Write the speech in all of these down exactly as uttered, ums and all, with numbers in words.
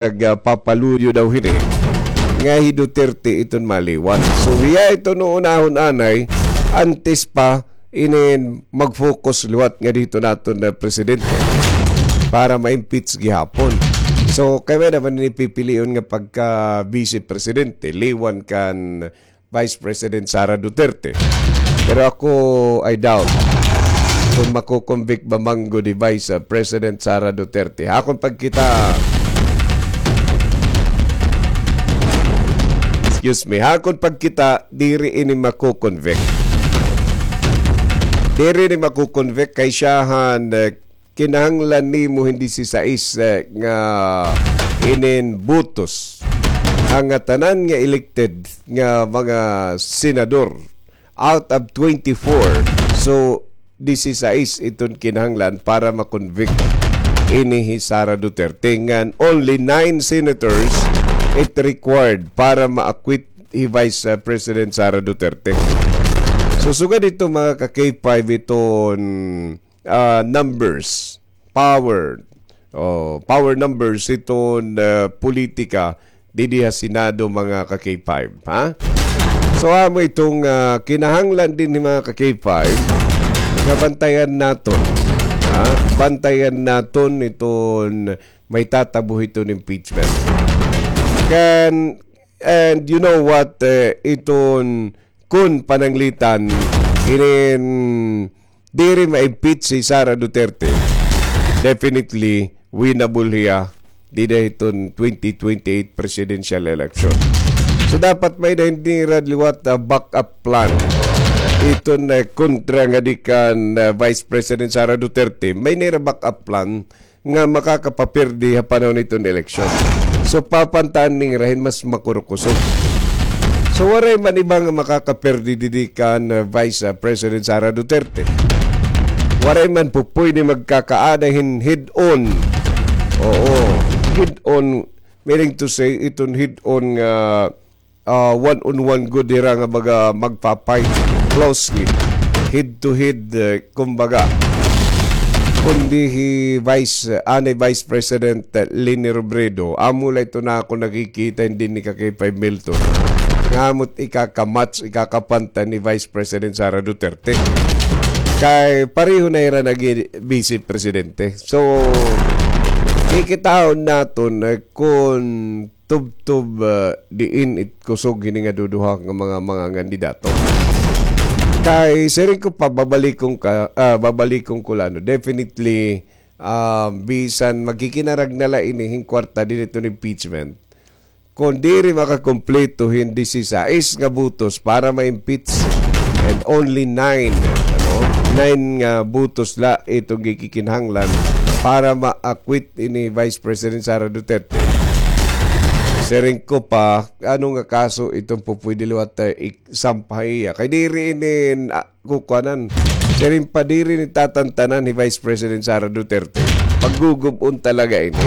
nag, ah, papaluyo daw hini nga hi Duterte iton maliwan. So, hiya ito no unahon anay, antes pa inin mag-focus liwat nga dito naton na presidente para ma-impeach gihapon. So, kay may naman ini pipilion nga pagka vice presidente, liwan kan Vice President Sara Duterte. Pero ako, I doubt kung mako-convict ba man gud hi Vice, uh, President Sara Duterte. Hakon pagkita, excuse me, hakon pagkita, diri ini mako-convict. Diri ini mako-convict kay siyahan, uh, kinahanglan nimo hin disisais, eh, nga inin butos. Ang nga tanan nga elected nga mga senador out of twenty-four, so disisais iton kinahanglan para ma-convict ini hi Sara Duterte, ngan only nine senators it required para ma-acquit hi Vice, uh, President Sara Duterte. So, sugad ito, mga ka-K five, iton ah, numbers, power, oh, power numbers iton, ah, politika didi ha Senado, mga ka-K five, ha? So, amo iton, ah, kinahanglan dinhi, mga ka-K five, nga bantayan naton, ha? Bantayan naton iton may tatabo hiton impeachment. Kan, and you know what, eh, iton kun pananglitan, inin diri ma-impeach si Sara Duterte, definitely winnable hiya dida hiton twenty twenty-eight presidential election. So, dapat may-ada hini nira liwat, ah, backup plan. Iton, ah, kontra ngadi kan, ah, Vice President Sara Duterte, may-ada nira backup plan nga makakapapirdi ha panahon hiton eleksyon. So, papantaan nira hin mas makurukusog. So, waray man iba nga makakapirdi didi kan, uh, Vice, uh, President Sara Duterte. Waray man po pwede magkakaada hin head-on. Oo, head-on, meaning to say, iton head-on nga ah, one-on-one gud hira nga baga magpa-fight closely, head to head, eh, kumbaga. Kundi hi Vice, eh, anay Vice President, eh, Leni Robredo, amo la ito na ako nakikita, hindi ni ka-K five Milton. Nga amo't ikakamatch, ikakapanta ni Vice President Sara Duterte. Kay pareho na hira naging vice presidente. So, kikitaon naton, eh, kung tubtob, ah, diin it kusog hini nga duduha nga mga, mga kandidato. Kay siring ko pa, babalikon ka, ah, babalikon ko la, no, definitely, ah, bisan magkikinarag na la ini hin kwarta dinhi hiton impeachment, kon diri makakumpleto hin disisais nga butos para ma-impeach, and only nine, ano, nine nga butos la iton gikikinahanglan para ma-acquit ini Vice President Sara Duterte. Siring ko pa, ano nga kaso iton pupwede liwat, eh, isampa ha iya? Kay diri ini, ah, kukuanan. Siring pa, diri ini tatantanan hi Vice President Sara Duterte. Paggugub-on talaga ini.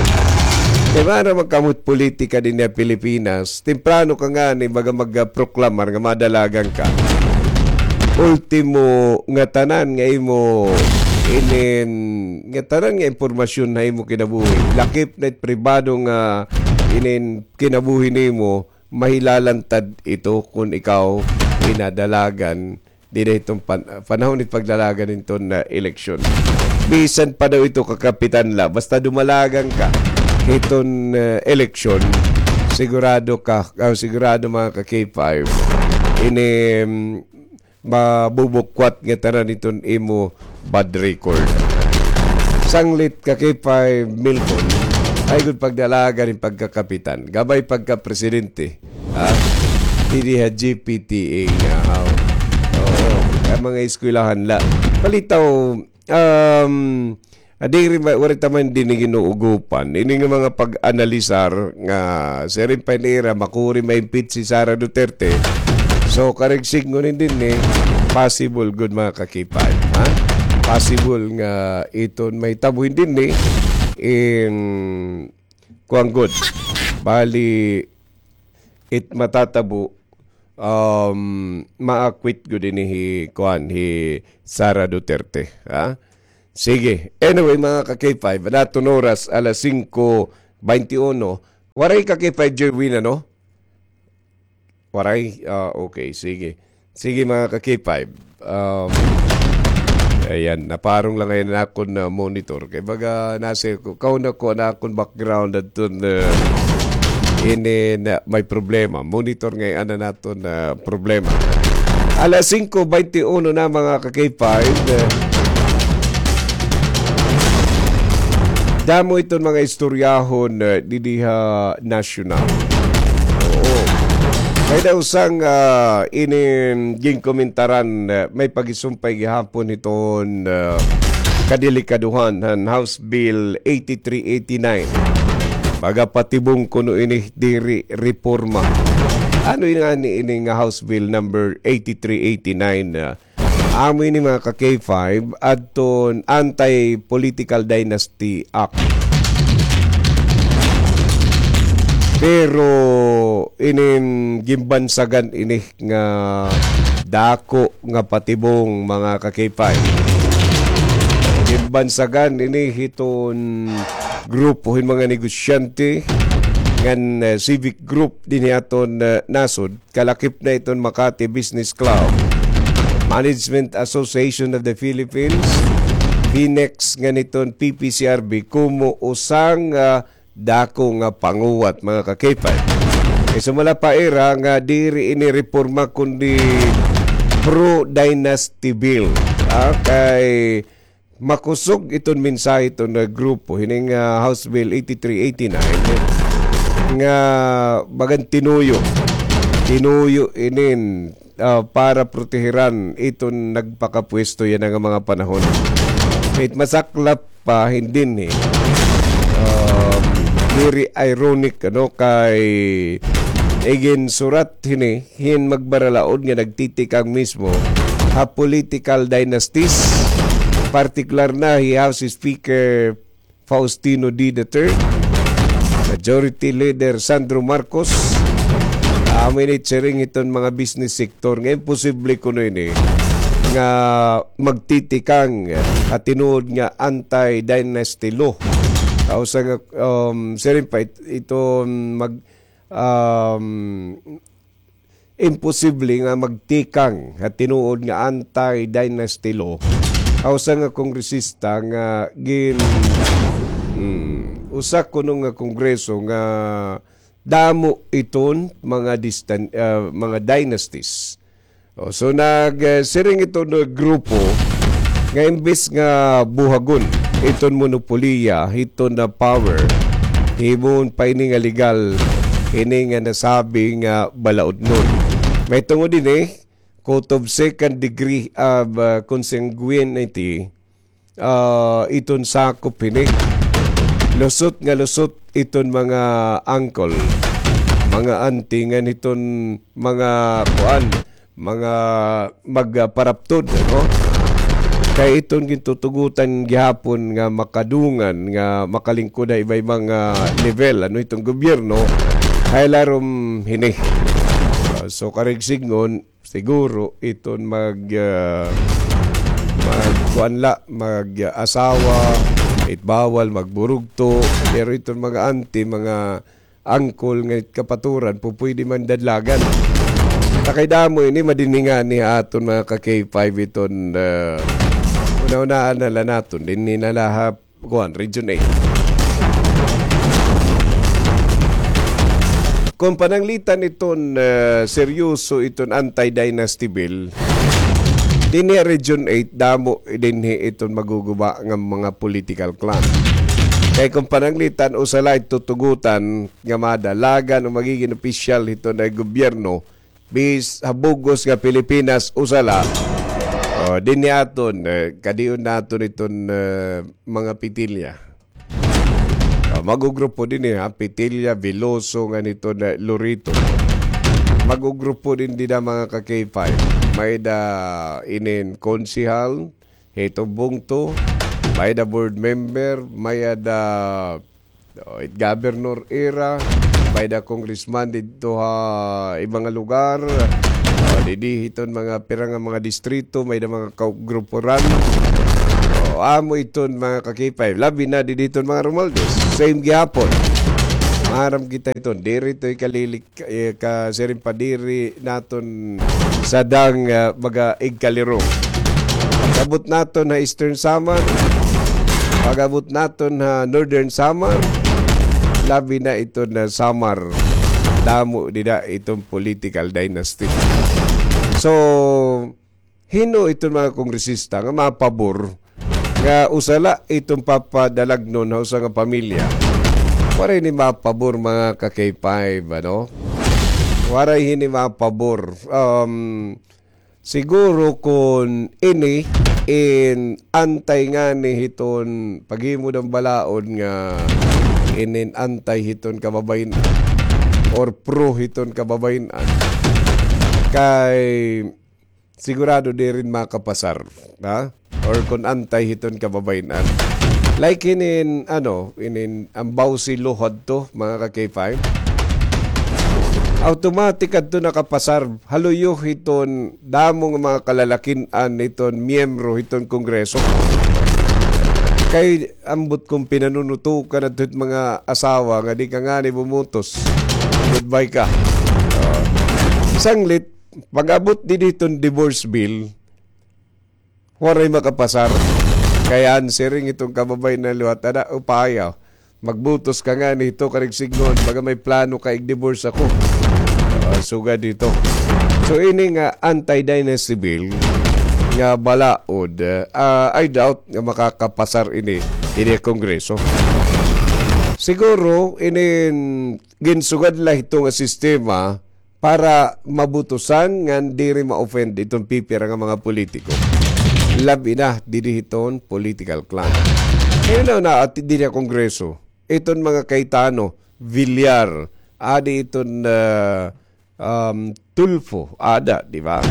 Kay maaram man kamo it politika dinhi ha Pilipinas, temprano ka ngani baga magproklamar nga madalagan ka. Ultimo, ngatanan nga imo inin, ngatanan nga impormasyon ha imo kinabuhi, lakip na it pribado nga inin kinabuhi nimo, mahilalantad ito kon ikaw pinadalagan dida hiton pan-, panahon hit pagdalagan hiton, ah, eleksyon. Bisan pa daw ito kakapitan la, basta dumalagan ka hiton, ah, eleksyon, sigurado ka, ah, sigurado, mga ka-K five, ini, mm, mabubukwat ngatanan hiton imo bad record. Sanglit ka-K five Milton, ay gud pagdalagan hin pagkakapitan, gamay pagkapresidente, ha? Didi ha G P T A nga, ha? Oo, kay mga eskwelahan la. Palitaw, um, Ah, diri ba, waray ta man dinhi ginuugopan ini nga mga pag-analisar nga siring pa nira makuri ma-impeach si Sara Duterte. So, karuyag sidngon dinhi, possible gud, mga ka-K five, ha? Possible nga iton mahitabo dinhi, in, kuan gud. Bali, it matatabo, um, ma-acquit gud ini hi, kuan, hi Sara Duterte, ha? Sige. Anyway, mga ka-K five, an aton oras, alas singko beintiuno, Waray ka K five, Jerwin, ano? Waray? Ah, okay, sige. Sige, mga ka K five. Um, ayan, naparong lang ngayon na akon, ah, monitor. Kay baga, nasa ko, kauna ko na akon background at dun, ah, ini na may problema. Monitor ngayon na naton, ah, problema. Alas singko baynte uno na, mga ka K five. Eh, damo iton mga istoryahon, eh, didi ha nasyonal. Oo. May daw sang, ah, inin ginkomentaran, eh, may pagisumpay gihapon hiton, ah, kadelikadohan han House Bill eighty-three eighty-nine. Magapatibong kuno ini diri reforma. Ano ini nga ni ini nga House Bill number eighty-three eighty-nine, ah, amo ini, mga ka K five, adton Anti-Political Dynasty Act. Pero inin gimbansagan ini nga dako nga patibong, mga ka K five. Gimbansagan ini hiton grupo hin mga negosyante ngan, eh, civic group dinhi aton, eh, nasod, kalakip na iton Makati Business Club, Management Association of the Philippines, Finex, ngan iton P P C R B, komo usa nga, ah, dako nga panguwat, mga ka K five. Kay sumala pa ira nga diri ini reforma kundi pro-dynasty bill. Ah, kay makusog iton mensahe iton nga grupo, hining, ah, House Bill eighty-three eighty-nine, nga bagan tinuyo. Tinuyo inin, ah, para protehiran iton nagpakapwesto yana nga mga panahon. It masaklap pa hin dinhi, eh. Um, very ironic, ano, kay iginsurat hini hin magbaralaod nga nagtitikang mismo ha political dynasties, partikular na hi House Speaker Faustino D the third, Majority Leader Sandro Marcos, amo ini siring hiton mga business sector nga imposible kuno ini nga magtitikang ha tinuod nga anti-dynasty law. Kausa nga, um, siring pa it-, iton mag-, um, imposible nga magtikang ha tinuod nga anti-dynasty law. Kausa nga kongresista nga gin-, hmm, usa kuno nga kongreso nga damo iton mga distan-, ah, mga dynasties. O, so nag, eh, siring iton, eh, grupo nga imbes nga buhagon iton monopoliya hiton nga power, himoon pa ini nga legal, ini nga nasabi nga balaodnon. Mahitungod ini, court of second degree of, ah, consanguinity, ah, iton sakop hini. Lusot nga lusot iton mga uncle, mga auntie ngan iton mga kuan, mga magparaptod, ano? Kay iton gintutugotan gihapon nga makadungan, nga makalingkod ha iba-ibang, ah, level, ano, iton gobyerno, ha ilarom hini. Ah, so, karuyag sidngon, siguro iton mag, ah, magkuan la, mag-asawa, it bawal, magburugto, pero iton mga auntie, mga uncle nga it kapaturan, pupwede man dadlagan. Ta kay damo ini, madinhi ngani ha aton mga ka K five iton, ah, una-unaan na la naton, dinhi na la ha kuan, Region eight. Kon pananglitan iton, eh, seryoso iton anti-dynasty bill, dinhi ha Region eight, damo dinhi iton maguguba nga mga political clan. Kay kon pananglitan, usa la it tutugotan nga madalagan o magigin opisyal hiton nga gobyerno, bis ha bug-os nga Pilipinas, usa la. O, dinhi aton, eh, kadion naton iton, eh, mga Petilla. O, magugrupo dinhi, ha, Petilla, Veloso, ngan iton, eh, Lorito. Magugrupo dinhi dida, mga ka K five. May-ada inin konsehal, hiton bungto, may-ada board member, may-ada, o, it governor ira, may-ada congressman didto ha iba nga lugar. O, didi hiton mga pira nga mga distrito, may-ada mga kaugruporan. O, amo iton mga ka K five, labi na didi hiton mga Romualdez. Same gihapon. Aram kita iton, diri ito ikalilik, eh, ka, siring pa, diri naton sadang, ah, mga igkaliro. Pag-abot naton ha Eastern Samar, pag-abot naton ha Northern Samar, labi na iton Samar. Damo dida iton political dynasty. So, hin-o iton mga kongresista nga mapabor nga usa la iton papadalagnon ha usa nga pamilya? Waray ini mapabor, mga ka-K five, ano? Waray hini mapabor. Um, siguro kon ini in antay ngani hiton paghimo han balaod nga inin antay hiton kababayen-an or pro hiton kababayen-an, kay sigurado diri makapasar, ha? Or kon antay hiton kababayen-an. Like inin, ano, inin an Bausi Law hadto, mga ka-K five. Automatic adto nakapasar, ha luyo hiton damo nga mga kalalakin-an hiton miyembro hiton Kongreso. Kay ambot kon pinanunutukan adto hit mga asawa nga di ka ngani bumutos, goodbye ka. Ah, sanglit, pag-abot didi hiton divorce bill, waray makapasar. Kay an siring hiton kababayen-an liwat, ada, upaya, magbutos ka ngani hito karig sidngon, baga may plano ka ig-divorce ako. Ah, sugad hito. So, ini nga anti-dynasty bill nga balaod, ah, I doubt nga makakapasar ini, ini Kongreso. Siguro, inin ginsugad la hito nga sistema para mabutusan ngan diri ma-offend iton pipira nga mga politiko. Labi na didi hiton political clan. Kay na, na, at didi ha Kongreso, iton mga Cayetano, Villar, adi iton, ah, um, Tulfo, ada, di ba?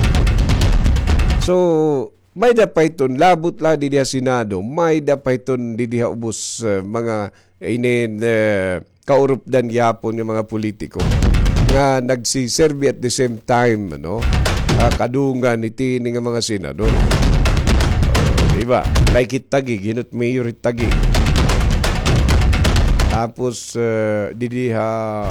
So, may-ada pa iton, labot la didi ha Senado, may-ada pa iton didi ha ubos, ah, mga inin, ah, kaurupdan gihapon nga mga politiko nga nagsiserbi at the same time, ano, ah, kadungan hit ini nga mga senador. Oh, di ba? Like hit Taguig, hin-o it mayor hit Taguig. Tapos, ah, didi ha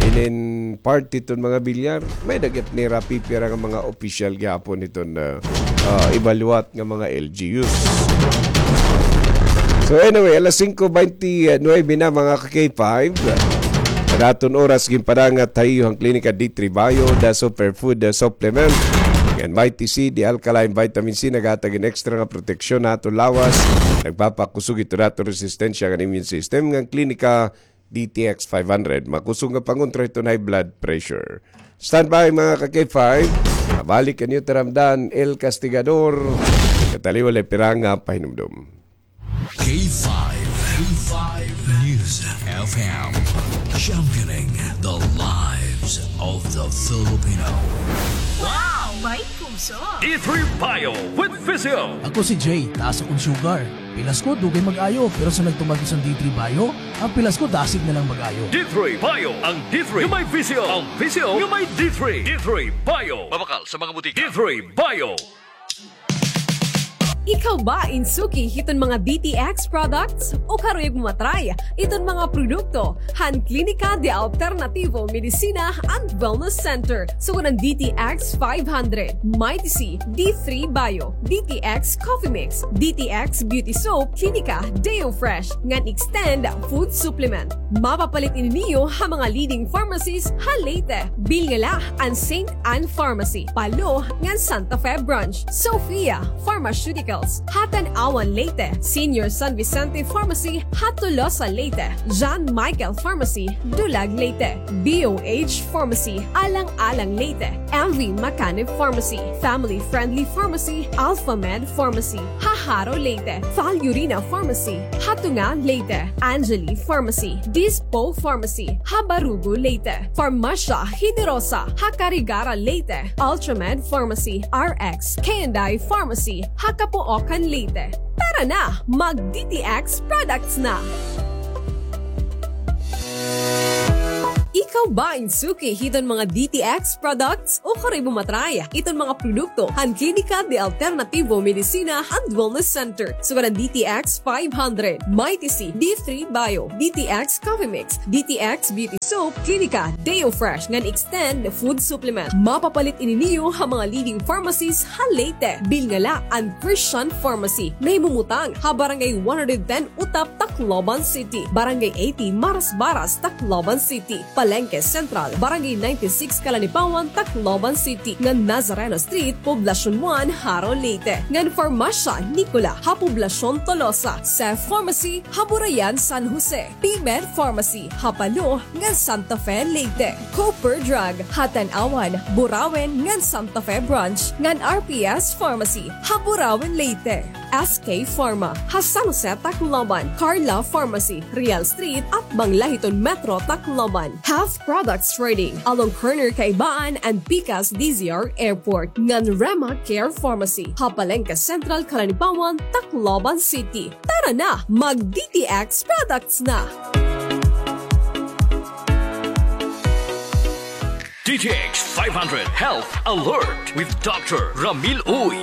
inin party hiton mga Villar, may-ada gihap nira pipira nga mga opisyal gihapon hiton, ah, ah, iba liwat nga mga L G Us. So anyway, alas singko baynte nuwebe na, mga ka-K five. An aton oras ginpadangat ha iyo han Klinika D three Bio, the superfood, the supplement. Ngan Mighty C, the alkaline vitamin C, naghatag hin extra nga proteksyon ha aton lawas. Nagpapakusog hito ha aton resistensya ngan immune system. Ngan Klinika D T X five hundred, makusog nga pangontra hiton high blood pressure. Standby, mga ka-K five. Mabalik an iyo taramdan, El Castigador. Kataliwan la pira nga pahinumdom. K five, K five News F M, championing the lives of the Filipino. Wow! May puso! D three Bio with Physio. Ako si Jay, taas akon sugar. Pilas ko, dugay mag-ayo, pero sa nagtuman ko san D three Bio, an pilas ko dasig na lang mag-ayo. D three Bio, ang D three nga may Physio, ang Physio nga may D three. D three Bio. Mabakal sa mga butika. D three Bio. Ikaw ba in suki hiton mga D T X products? O karuyag mo ma-try iton mga produkto han Klinika de Alternativo Medicina and Wellness Center? Sugad han D T X five hundred, Mighty C, D three Bio, D T X Coffee Mix, D T X Beauty Soap, Klinika Deo Fresh, ngan Extend Food Supplement. Mapapalit ini niyo ha mga leading pharmacies ha Leyte. Bilngala an Saint Ann Pharmacy, Palo, ngan Santa Fe Branch. Sophia Pharmaceuticals, ha Tanauan, Leyte. Senior San Vicente Pharmacy, ha Tolosa, Leyte. John Michael Pharmacy, Dulag, Leyte. B O H Pharmacy, Alang-alang, Leyte. M V Macanib Pharmacy, Family Friendly Pharmacy, Alpha Med Pharmacy, ha Jaro, Leyte. Valurina Pharmacy, ha Tunga, Leyte. Angeli Pharmacy, Dispo Pharmacy, ha Barugo, Leyte. Farmacia Generosa, ha Carigara, Leyte. Ultramed Pharmacy, R X K and I Pharmacy, ha Capoocan, Leyte. Tara na, mag D T X products na! Ikaw Ikaw ba in suki hiton mga D T X products? Ukon imo ma-try iton mga produkto han Klinika de Alternativo Medicina and Wellness Center. Sugad an D T X five hundred, Mighty C, D three Bio, D T X Coffee Mix, D T X Beauty Soap, Klinika Deo Fresh ngan Extend Food Supplement. Mapapalit ini niyo ha mga leading pharmacies ha Leyte. Bilngala an Christian Pharmacy, nahimumutang ha Barangay one hundred ten Utap, Tacloban City, Barangay eighty Marasbaras, Tacloban City, Palengke Central, Barangay ninety-six Calanipaon, Tacloban City, ngan Nazareno Street, Poblacion one, Jaro, Leyte, ngan Farmacia Nicola ha Poblacion Tolosa, Cef Pharmacy ha Burayan, San Jose, P-Med Pharmacy ha Palo ngan Santa Fe, Leyte, Cooper Drug ha Tanauan, Burauen ngan Santa Fe Branch, ngan R P S Pharmacy ha Burauen, Leyte. S K Pharma ha San Jose, Tacloban, Carla Pharmacy, Real Street, atbang la hiton Metro Tacloban. Half Products Trading, along corner Kaibaan and Pikas D Z R Airport, ngan Rema Care Pharmacy ha Palengke Central, Calanipaon, Tacloban City. Tara na, mag D T X products na! D T X five hundred Health Alert with Doctor Ramil Uy.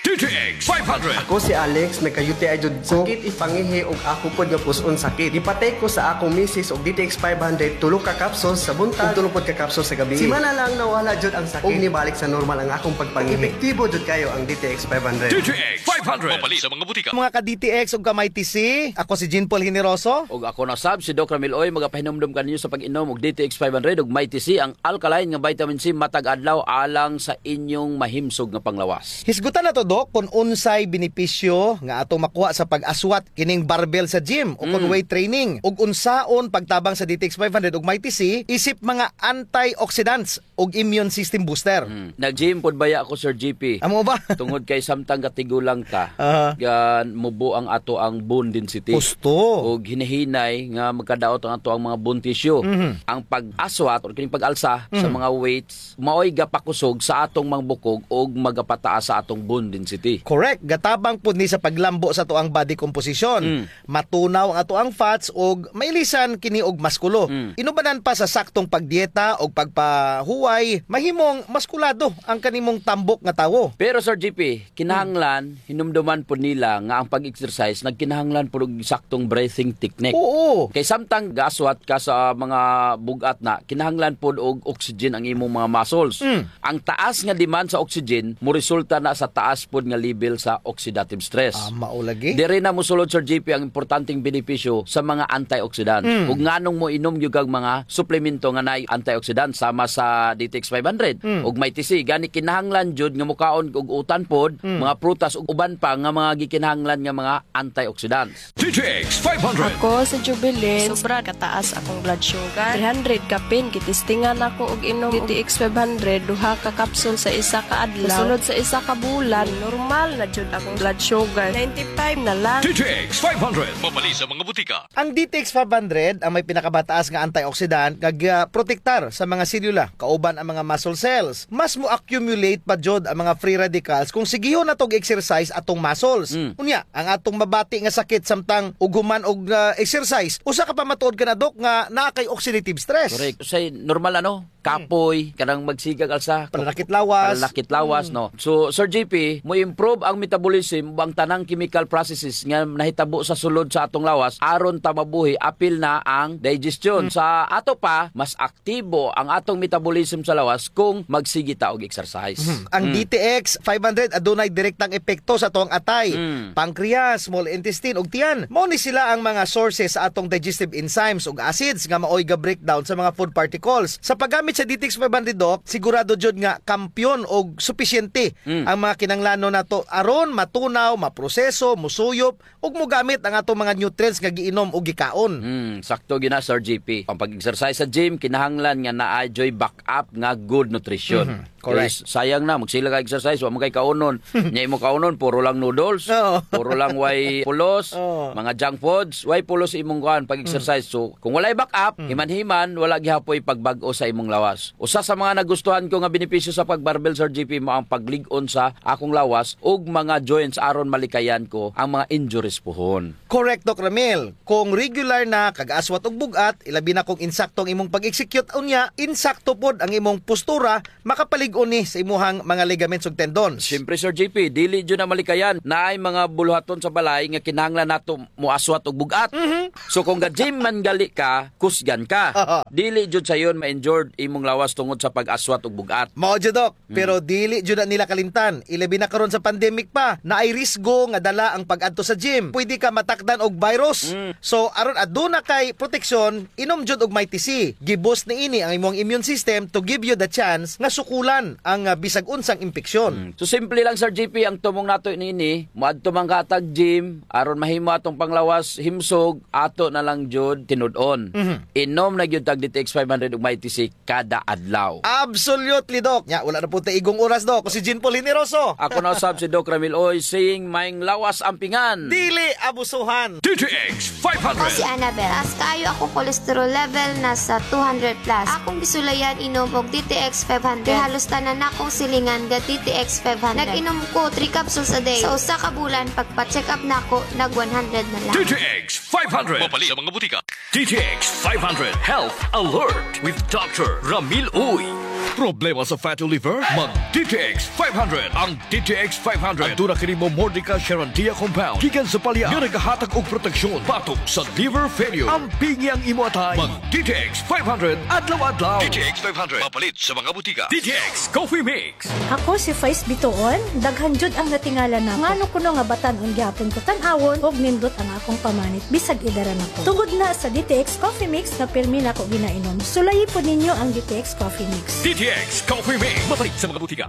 D T X five hundred. Ako si Alex, nagka-U T I jud ko. Sakit it pangihi ug ako pod nga pus-on sakit. Gipatake ko sa akong misis og D T X five hundred, tulo ka capsules sa buntag, ug tulo pod ka capsules sa gabii. Simana lang nawala jud ang sakit. Ug nibalik sa normal ang akong pagpangihi. Epektibo jud kayo ang D T X five hundred. D T X five hundred. Mapalit sa mga butika. Mga ka-D T X ug ka-Mighty C, ako si Jean Paul Generoso. Ug ako na sab, si Doc Ramil Uy, magapahinumdom kaninyo sa pag-inom og D T X five hundred ug Mighty C, ang alkaline nga vitamin C matag adlaw alang sa inyong mahimsog nga panglawas. Hisgutan nato, Doc, kun unsay benepisyo nga atong makuha sa pag-aswat kining barbell sa gym o kun Mm. weight training, ug unsaon pagtabang sa D T X five hundred ug Mighty C isip mga antioxidants ug immune system booster. Mm. Nag-gym pod baya ako, Sir G P. Amo ba? Tungod kay samtang gatigulang ta, Aha. gan mubo ang ato ang bone density. Husto. Ug hinahinay nga magkadaot ang ato ang mga bone tissue. Mhm. Ang pag-aswat or kining pag-alsa sa Mhm. mga weights, maoy gapakusog sa atong mga bukog ug magapataas sa atong bone density. Correct. Gatabang pud ni sa paglambo sa ato ang body composition. Mm. Matunaw ang ato ang fats ug mailisan kini og maskulo. Mm. Inubanan pa sa saktong pagdieta ug pagpahuway, mahimong maskulado ang kanimong tambok nga tawo. Pero, Sir G P, kinahanglan, hinumduman pod nila nga ang pag-exercise nagkinahanglan pod og saktong breathing technique. Oo. Kay samtang gaaswat ka sa mga bug-at na, kinahanglan pod og oxygen ang imong mga muscles. Mm. Ang taas nga demand sa oxygen moresulta na sa taas pod nga level sa oxidative stress. Ah, mao lagi. Diri na mosulod, Sir G P, ang importanteng benepisyo sa mga antioxidant. Mm. Ug nganong moinom gyud kag mga suplemento nga naay antioxidant sama sa D T X five hundred Mm. ug Mighty C. Gani kinahanglan jud nga mokaon og utan pod, Mm. mga prutas ug uban pa nga mga gikinahanglan nga mga antioxidants. D T X five hundred. Ako si Jubilin. Sobra kataas akong blood sugar. Three hundred kapin, gitistingan ako og inom D T X five hundred, duha ka kapsul sa isa ka adlaw. Sunod sa isa ka bulan, normal na jud akong blood sugar. Ninety-five na lang. D T X five hundred. Mapalit sa mga butika. Ang D T X five hundred ang may pinakamataas nga antioxidant nga, ah, protektar sa mga selula, kauban ang mga muscle cells. Mas mo-accumulate pa jud ang mga free radicals kung sigihon nato og exercise atong muscles. Mm. Unya, ang atong mabati nga sakit samtang ug human og, ah, exercise, usa ka pamatuod kana, Doc, nga naa kay oxidative stress. Correct. Usahay normal, ano? Kapoy, kanang magsigag alsa. Pananakit lawas. Pananakit lawas, Mm. no? So, Sir G P, mo-improve ang metabolism ug ang tanang chemical processes nga nahitabo sa sulod sa atong lawas aron ta mabuhi, apil na ang digestion. Mm. Sa ato pa, mas aktibo ang atong metabolism sa lawas kung magsige ta og exercise. Mhm. Ang Mm. D T X five hundred adunay direktang epekto sa atong atay, Mm. pancreas, small intestine, ug tiyan. Mao ni sila ang mga sources sa atong digestive enzymes ug acids nga maoy ga-breakdown sa mga food particles. Sa paggamit sa D T X five hundred, Doc, sigurado jud nga kampiyon og supisyente Mm. ang mga kinahanglanon nato aron matunaw, maproseso, musuyop, ug mogamit ang atong mga nutrients nga giinom o gikaon. Mm, sakto gyud na, Sir G P. Ang pag-exercise sa gym, kinahanglan nga naa juy backup nga good nutrition. Mhm, correct. Kay sayang na, magsige ka exercise, wa man kay kaunon. Nya imo kaunon, puro lang noodles, Oo. puro lang way pulos, Oo. mga junk foods, way pulos imong kuan pag-exercise. Mm. So, kung walay backup, Mm. himan-himan, wala gihapoy pagbag-o sa imong lawas. Usa sa mga nagustuhan ko nga benepisyo sa pagbarbell, Sir G P, mao ang paglig-on sa akong lawas ug mga joints aron malikayan ko ang mga injuries puhon. Correct, Doc Ramil. Kung regular na kag aswat ug bug-at, ilabi na kung insakto ang imong pag-execute, unya insakto pod ang imong postura, makapalig-on ni sa imuhang mga ligaments ug tendons. Siyempre, Sir G P, dili jud na malikayan. Naay mga buluhaton sa balay nga kinahanglan nato moaswat og bug-at. Mhm. So, kung ga-gym man gali ka, kusgan ka. Dili jud sayon ma-injured imong lawas tungod sa pag-aswat og bug-at. Mao jud, Doc. Mm. Pero dili jud na nila kalimtan. Ilabi na karon sa pandemic pa, naay risgo nga dala ang pag-adto sa gym. Pwede ka matakdan og virus. Mm. So, aron aduna kay proteksyon, inom jud og Mighty C. Gi-boost niini ang imong immune system to give you the chance nga sukulan ang, ah, bisag unsang impeksyon. Mm. So, simple lang, Sir G P, ang tumong nato niini, moadto man ka hatag gym, aron mahimo atong panglawas, himsog, ato na lang jud tinud-on. Mhm. Inom na gyud tag D T X five hundred ug Mighty C kada adlaw. Absolutely, Doc. Nya, wala na po ta igong oras, Doc. Ako si Jean Paul Generoso. Ako na usab si Doc Ramil Uy, saying, maayong lawas ampingan. Dili abusuhan. D T X five hundred. Ako si Annabel. Taas kaayo akong cholesterol level, nasa two hundred plus. Akong gisulayan inom og D T X five hundred. Kay halos tanan nakong silingan ga D T X five hundred. Nag-inom ko three capsules a day. Sa usa ka bulan, pagpa-check up nako, nag one hundred na lang. D T X five hundred. Mapalit sa mga butika. D T X five hundred Health Alert with Doctor Ramil Uy. Problema sa fatty liver? Mag D T X five hundred. Ang D T X five hundred aduna kini Momordica Charantia compound gikan sa palya nga nagahatag og proteksyon batok sa liver failure. Ampingi ang imo atay. Mag D T X five hundred adlaw-adlaw. D T X five hundred. Mapalit sa mga butika. D T X Coffee Mix. Ako si Faiz Bituon, daghan jud ang natingala nako. Ngano kuno nga batan-on gihapon ko tan-awon ug nindot ang akong pamanit bisag edad na ko. Tungod na sa D T X Coffee Mix nga pirmi nako ginainom. Sulayi pod ninyo ang D T X Coffee Mix. D T X Coffee Mix. Mapalit sa mga butika.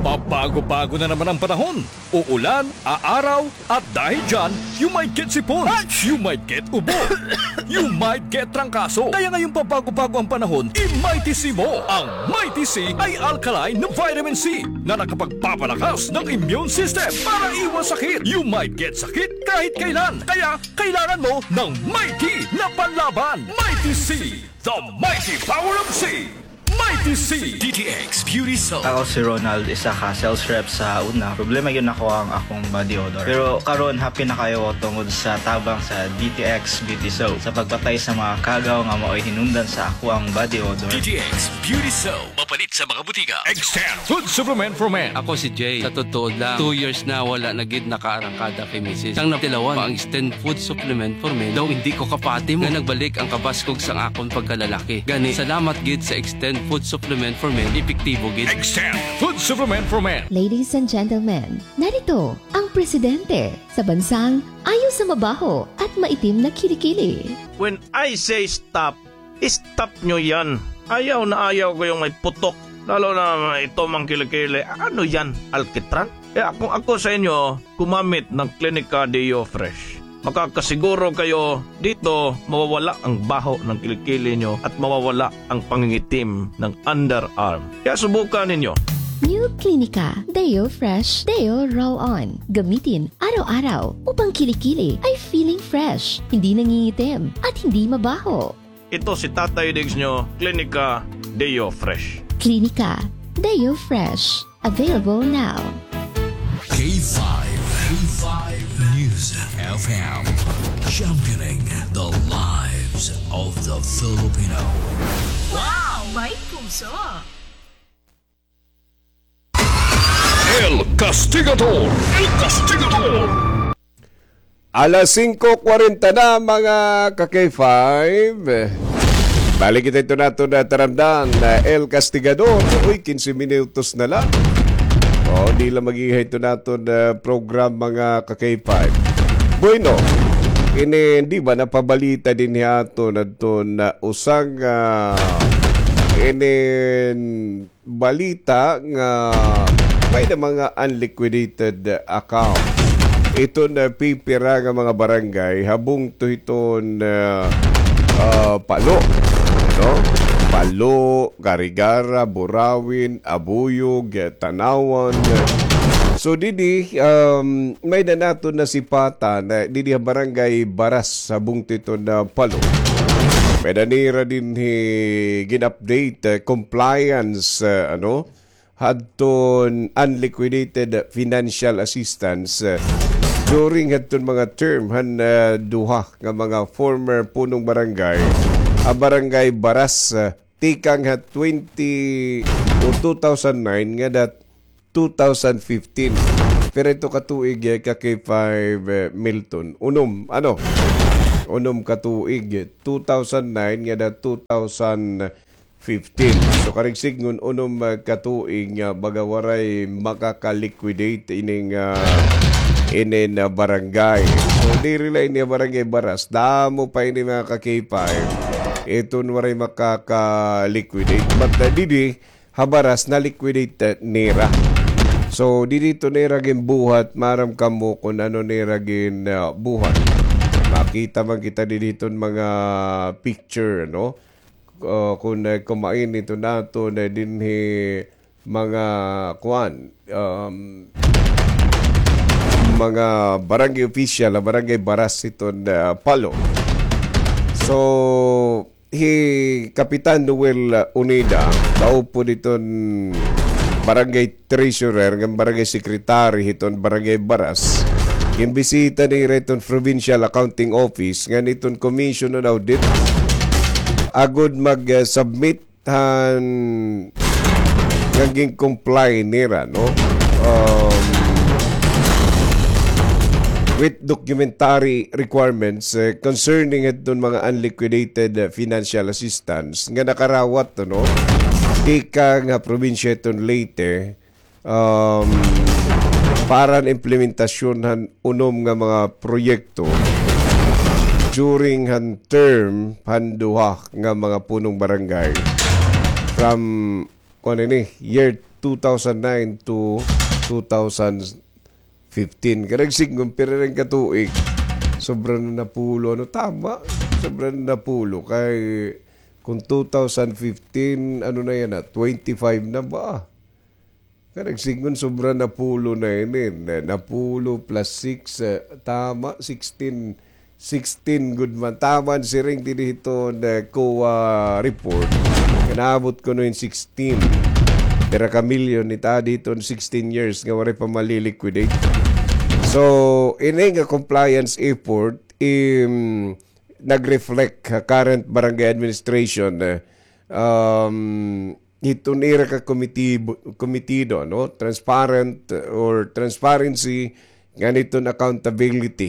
Pabago-bago na naman ang panahon. Uulan, aaraw, at dahil dyan, you might get sipon. You might get ubo. You might get trangkaso. Kaya ngayong pabago-bago ang panahon, i-Mighty C mo. Ang Mighty C ay alkaline na vitamin C na nakapagpapalakas ng immune system para iwas sakit. You might get sakit kahit kailan. Kaya kailangan mo ng Mighty na panlaban. Mighty C, the mighty power of C. Mighty C. D T X Beauty Soap. Ako si Ronald, isa ka sales rep sa una. Problema gyud nako ang akong body odor. Pero karon, happy na kaayo ako tungod sa tabang sa D T X Beauty Soap sa pagpatay sa mga kagaw nga maoy hinungdan sa akoang body odor. D T X Beauty Soap. Mapalit sa mga butika. Extend Food Supplement for Men. Ako si Jay. Sa totoo lang, two years na wala na gid nakaarangkada kay misis. Sang natilawan pa ang Extend Food Supplement for Men, daw indi ko kapati mo nga nagbalik ang kabaskog sang akon pagkalalaki. Gani, salamat gid sa Extend Food Supplement for Men, epektibo gid. Extend Food Supplement for Men. Ladies and gentlemen, narito ang presidente sa bansang ayaw sa mabaho at maitim na kilikili. When I say stop, stop nyo yan. Ayaw na ayaw ko yung may putok. Lalo na ito mang kilikili. Ano yan? Alkitran? Kaya kung ako sa inyo, gumamit ng Clinica Deo Fresh. Makakasiguro kayo dito mawawala ang baho ng kilikili nyo at mawawala ang pangingitim ng underarm. Kaya subukan ninyo. New Clinica Deo Fresh Deo Roll-On. Gamitin araw-araw upang kilikili ay feeling fresh, hindi nangingitim, at hindi mabaho. Ito si Tatay Diggs nyo, Clinica Deo Fresh. Clinica Deo Fresh. Available now. K five, K five News F M, championing the lives of the Filipino. Wow! May puso! El Castigador! El Castigador! Alas singko kwarenta na, mga ka-K five. Balik kita ito nato na taramdan na El Castigador. Uy, kinse minutos na lang. O, di lang mag-ihay ito nato na program, mga ka-K five. Bueno, ini, di ba, napabalita din hiya ato na ito na usang, ah, ini balita nga may na mga unliquidated account. Iton pipira nga mga barangay ha bungto hiton, ah, ah, Palo, no? Palo, Carigara, Burauen, Abuyog, Tanauan. So, didi, um, may na naton nasipatan, ah, didi ha barangay Baras ha bungto hiton Palo. Pwede nira dinhi gin-update, eh, compliance, eh, ano, hadton unliquidated financial assistance, eh, during hadton mga term han, eh, duha nga mga former punong barangay, ha Barangay Baras, eh, tikang ha twenty o two thousand nine ngada two thousand fifteen. Pira ito ka tuig, eh, ka K five, eh, Milton? Unom, ano? Unom ka tuig, eh, two thousand nine ngada two thousand fifteen. So, karuyag sidngon, unom, ah, ka tuig nga baga waray makaka-liquidate ining, ah, inin, ah, barangay. So, diri la ini Barangay Baras. Damo pa ini, mga ka-K five. Iton waray makaka-liquidate. But, ah, didi, ha Baras, na-liquidate, ah, nira. So, didi ito nira ginbuhat, maaram kamo kon ano nira gin, ah, buhat. Makita man kita didi hiton mga picture, no? Ah, kon, ah, kumain ito naton, ah, dinhi mga kuan, um, mga barangay official, ah, Barangay Baras hiton, ah, Palo. So, hi Kapitan Noel, ah, Unida, kaupod hiton barangay treasurer, ngan barangay secretary hiton Barangay Baras, ginbisita nira hiton Provincial Accounting Office, ngan hiton Commission on Audit, agod mag, ah, submit han nga gin-comply nira, no? Um, with documentary requirements, eh, concerning hiton mga unliquidated, eh, financial assistance nga nakarawat, no? Tikang ha probinsya hiton Leyte, um, para han implementasyon han unom nga mga proyekto during han term han duha nga mga punong barangay from, kuan ini, year two thousand nine to two thousand fifteen. Karuyag sidngon, pira ini ka tuig? Sobra na napulo. Ano, tama? Sobra na napulo. Kay, kung two thousand fifteen, ano na yana, ah? Twenty-five na ba? Karuyag sidngon, sobra napulo na ini. Na-, napulo plus six, eh, tama, sixteen. Sixteen gud man. Tama an siring dinhi hiton, eh, COA report. Nga naabot kuno hin sixteen. Pira ka milyon it-add hiton sixteen years nga waray pa mali-liquidate. So, ini nga compliance effort, im, nag-reflect ha current barangay administration, eh, um, hiton ira ka komitibo-, komitido, no? Transparent or transparency, ngan hiton accountability,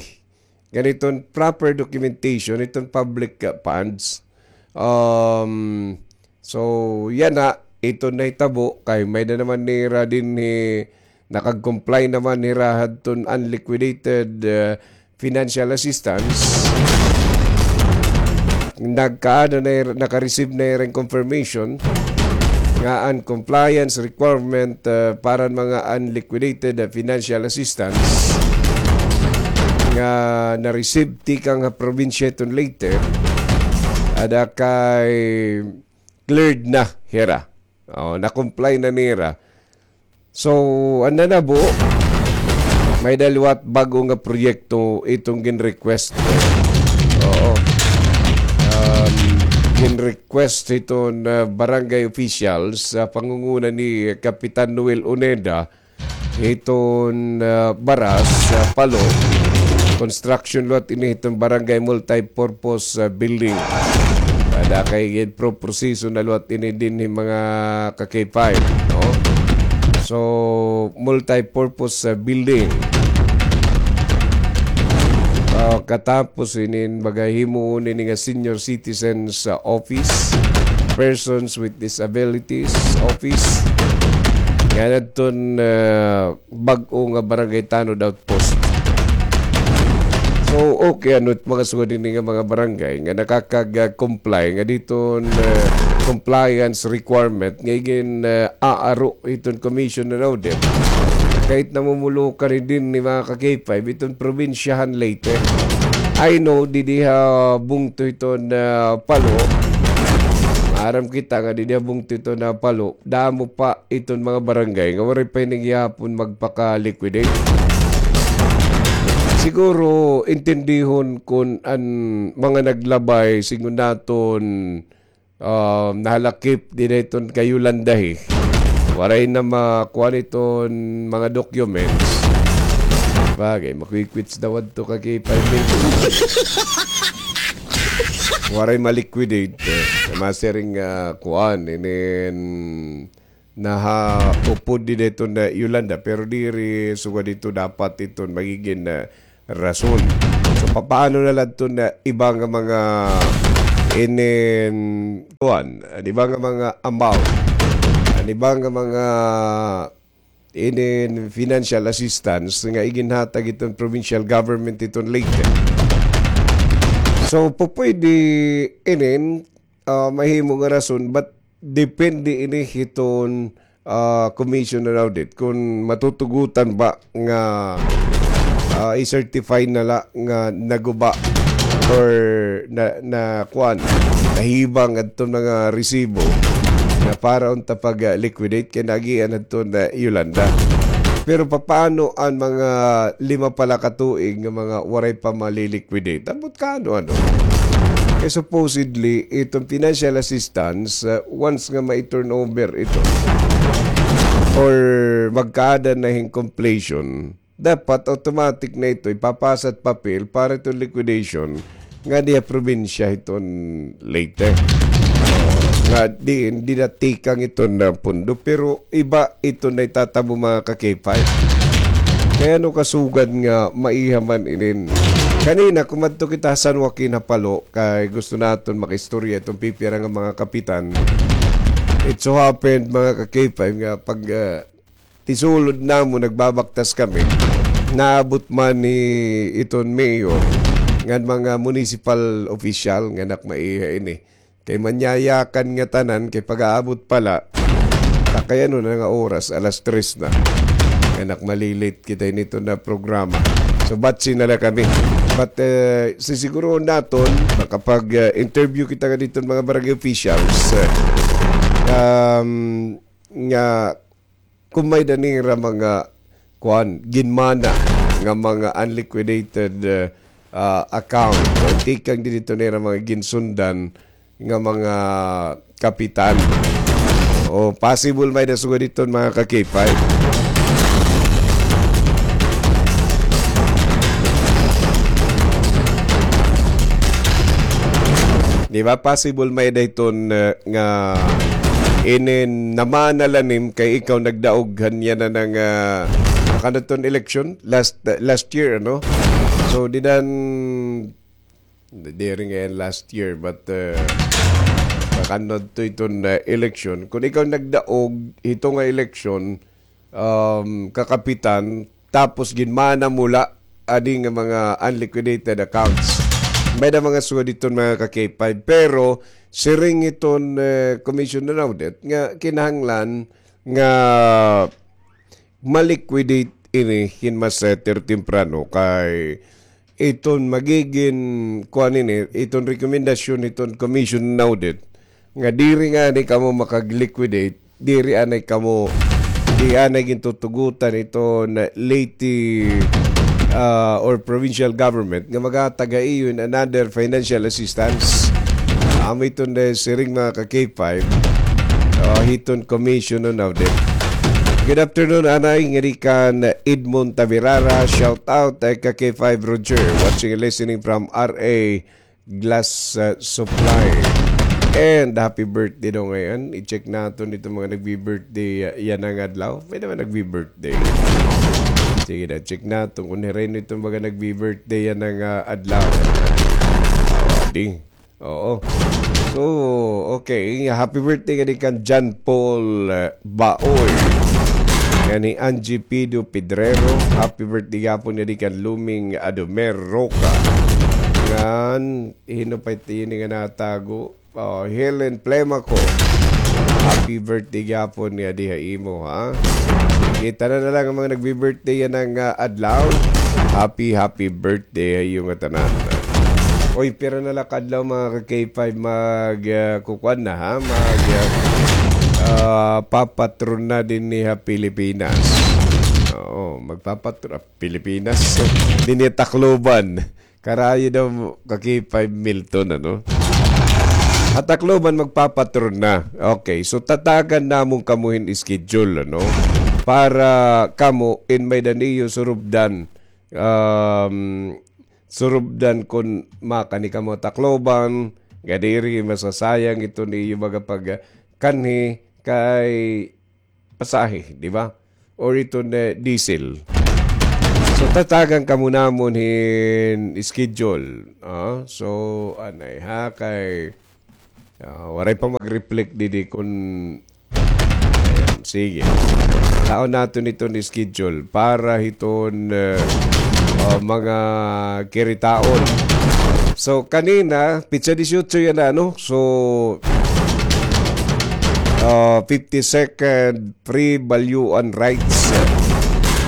ngan hiton proper documentation hiton public, uh, funds. Um, so, yana, iton nahitabo, kay may-ada naman nira dinhi, nakag-comply naman hira hadton unliquidated, uh, financial assistance. Nagkaada na hira, naka-receive na hira hin confirmation nga an compliance requirement, uh, para han mga unliquidated, uh, financial assistance nga na-receive tikang ha probinsya hiton Leyte, ada kay cleared na hira. O, na-comply na nira. So, an nanabo, may-ada liwat bag-o nga proyekto iton gin-request. Oo. Um, gin-request hiton, uh, barangay officials, sa pangunguna ni Kapitan Noel Uneda, hiton, uh, Baras, uh, Palo, construction liwat ini hiton barangay multi-purpose, uh, building. Ada kay gin-proproseso na liwat ini dinhi mga ka-K five, no? So, multi-purpose, uh, building. Uh, katapos ini, baga himuon ini nga senior citizens, uh, office, persons with disabilities office, ngan adton, uh, bag-o nga barangay tanod outpost. So, okay, ano it mga sugad ini nga mga barangay nga nakakag-comply nga diton, uh, compliance requirement nga igin, uh, aaro iton Commission on Audit. Kay it namumulukan dinhi mga ka-K five, iton probinsya han Leyte. I know, didi ha bungto hiton, uh, Palo. Maaram kita nga didi ha bungto hiton, uh, Palo. Damo pa iton mga barangay nga waray pa ini gihapon magpaka-liquidate. Siguro, intindihon kun an mga naglabay, sigon naton, um, nahalakip dida hiton kay Yolanda, eh. Waray na makuan iton mga documents. Bagay, makikwits daw adto ka kay five minutes. Waray ma-liquidate, eh. Masiring, ah, kuan, inin nahaupod dida hiton, ah, Yolanda, pero diri sugad hito dapat iton magigin, ah, rason. So, papaano na la iton, ah, iba nga mga inin, kuan, an iba nga mga amount, an iba nga mga inin financial assistance nga iginhatag iton provincial government iton Leyte. So, pupwede inin, ah, mahimo nga rason, but depende ini hiton, ah, Commission on Audit kun matutugutan ba nga, ah, i-certify na la nga naguba or na, na kuan, nahibang adton mga resibo nga para unta pag, ah, liquidate kay naagian adton, ah, Yolanda. Pero papaano an mga lima pa la ka tuig nga mga waray pa mali-liquidate? Ambot kaano, ano? Kay supposedly, iton financial assistance, ah, once nga ma-turnover ito or magkaada na hin completion, dapat automatic na ito, ipapasa it papel para iton liquidation ngadi ha probinsya hiton Leyte. Nga di, di na tikang iton, ah, pundo, pero iba iton naitatabo, mga ka-K five. Kay ano kasugad nga maiha man inin. Kanina, kumadto kita ha San Joaquin ha Palo, kay gusto naton makaistorya iton pipira nga mga kapitan. It so happened, mga ka-K five, nga pag, ah, tisulod namon, nagbabaktas kami. Naabot man ni iton mayor, ngan mga municipal official nga anak maiha ini. Kay manyayakan ngatanan, kay pag-aabot pa la, ta kay ano na nga oras, alas tres na. Anak, mali-late kita ini hiton programa. So, batsi na la kami. But, eh, sisigurohon naton, makapag, eh, interview kita ngadi hiton mga barangay officials, eh, um, nga kun may-ada nira mga, kuan, ginmana nga mga unliquidated, eh, ah, account. O tikang didto nira mga ginsundan nga mga kapitan. O possible may-ada sugad hiton, mga ka-K five. Di ba possible may-ada hiton, eh, nga inin namana la nim kay ikaw nagdaog han yana nga, ah, kanan ton election last, last year, ano? So, dinan, diri ngay-an last year, but, eh, kanan to iton, eh, election. Kun ikaw nagdaog hito nga election, um, kakapitan, tapos ginmana mo la adi nga mga unliquidated accounts. May-ada mga sugad hiton, mga ka-K five, pero siring hiton, eh, Commission on Audit nga kinahanglan nga ma-liquidate ini hin mas, eh, ter-, temprano kay iton magigin kuan ini, iton rekomendasyon hiton Commission on Audit nga diri ngani kamo makag-liquidate, diri anay kamo, di anay gintutugutan iton Leyte, ah, or provincial government nga maghatag ha iyo hin another financial assistance. Amo iton, eh, siring, mga ka-K five, ah, hiton Commission on Audit. Good afternoon, anay, ngadi kan Edmond Tabirara. Shout out, eh, ka-K five Roger. Watching and listening from R A Glass, uh, Supply. And happy birthday daw ngayon. I-check naton iton mga nagbi-birthday, uh, yana nga adlaw. May-ada man nagbi-birthday. Sige daw, check naton kun hira ini iton mga nagbi-birthday yana nga, uh, adlaw. Di. Oo. So, okay. Happy birthday ngadi kan John Paul, uh, Baoy. Ngan hi Angie Pido Pedrero. Happy birthday gihapon ngadi kan Luming Adomer Roca. Ngan Hino pa it ini nga natago? Oh, Helen Plemaco. Happy birthday gihapon ngadi ha imo, ha? Kita na na lang an mga nagbi-birthday yana nga, ah, adlaw. Happy, happy birthday ha iyo ngatanan. Oy, pira na la ka adlaw, mga ka-K five, mag, ah, kukuan na, ha? Mag, ah, ah, papatron na dinhi ha Pilipinas. Oo, magpapatro-, ah, Pilipinas. Dinhi Tacloban. Karayo daw ka K five Milton, ano? Ha Tacloban magpapatron na. Okay, so tatagan namon kamo hin schedule, ano? Para kamo in may-ada niyo surubdan, um, surubdan kon makani kamo Tacloban, nga diri masasayang iton iyo baga pagkanhi kay pasahe, di ba? Or iton, eh, diesel. So, tatagan kamo namon hin schedule. Ah, so, anay ha, kay, ah, waray pa mag-reflect didi kun, ayan, sige. Taon naton iton schedule para hiton, eh, ah, mga kiritaon. So, kanina, pitsa dieciocho yana, no? So, ah, fifty-second Free Balyuan Rights.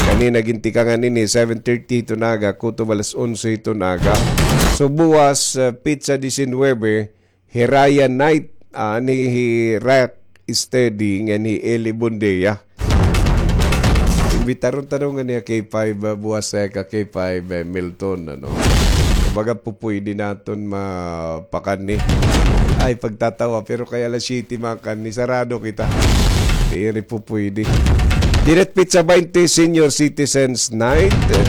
Kanina gintikangan ini, seven thirty hiton aga, kutob alas onse hiton aga. So, buwas, ah, pitsa diecinuebe, Hiraya Night, ani hi Rock Steady, ngan hi Eli Bondea. Imbitaron ta daw ngani ha K five, ah, buwas, eh, ka K five, eh, Milton, ano. Kumbaga, pupwede naton mapakanhi. Ay, pagtatawa, pero kay alas siyete makanhi, sarado kita. Diri pupwede. Dinhi ha pitsa baynte, Senior Citizens Night, eh,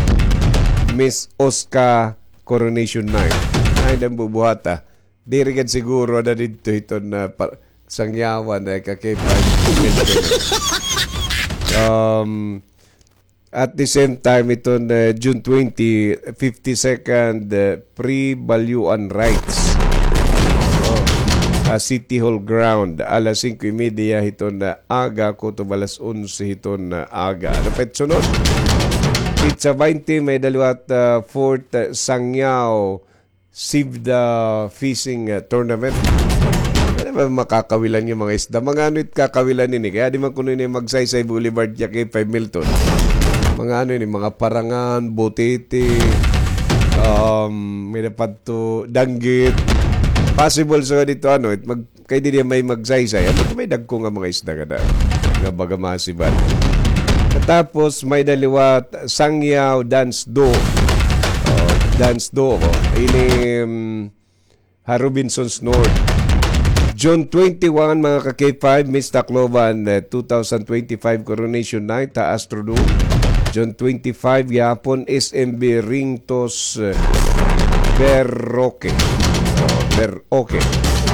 Miss Oscar Coronation Night. Ay, nang bubuhata. Diri gad siguro na didto hiton, ah, pa-, Sangyawan, eh, ka K five. Um, at the same time, iton, eh, June twenty, fifty-second, eh, Free Balyuan Rights. Oh, ah, City Hall Ground, alas singko y media hiton, ah, aga, kutob alas onse hiton, ah, aga. Ano pa it sunod? Pitsa baynte, may-ada liwat, ah, fourth, ah, Sangyao Save the Fishing, uh, Tournament. Ano ba makakawilan nga mga isda? Mga ano it kakawilan ini? Kay adi man kuno ini Magsaysay Boulevard, ya kay five Milton. Mga ano ini, mga parangan, butiti, um, may dapat to, danggit. Possible sa dito, ano, it mag-, kay didi may Magsaysay. Ano, may dagko nga mga isda kada nga baga masibat. Tapos, may-ada liwat Sangyao Dance Duo. Oh, Dance Duo. Ini, mm, ha Robinsons North. June twenty-one, mga ka K five, Miss Tacloban, eh, two thousand twenty-five Coronation Night ha Astrodome. June twenty-five, gihapon, S M B Ring Toss, eh, Berroque. Oh, Berroque.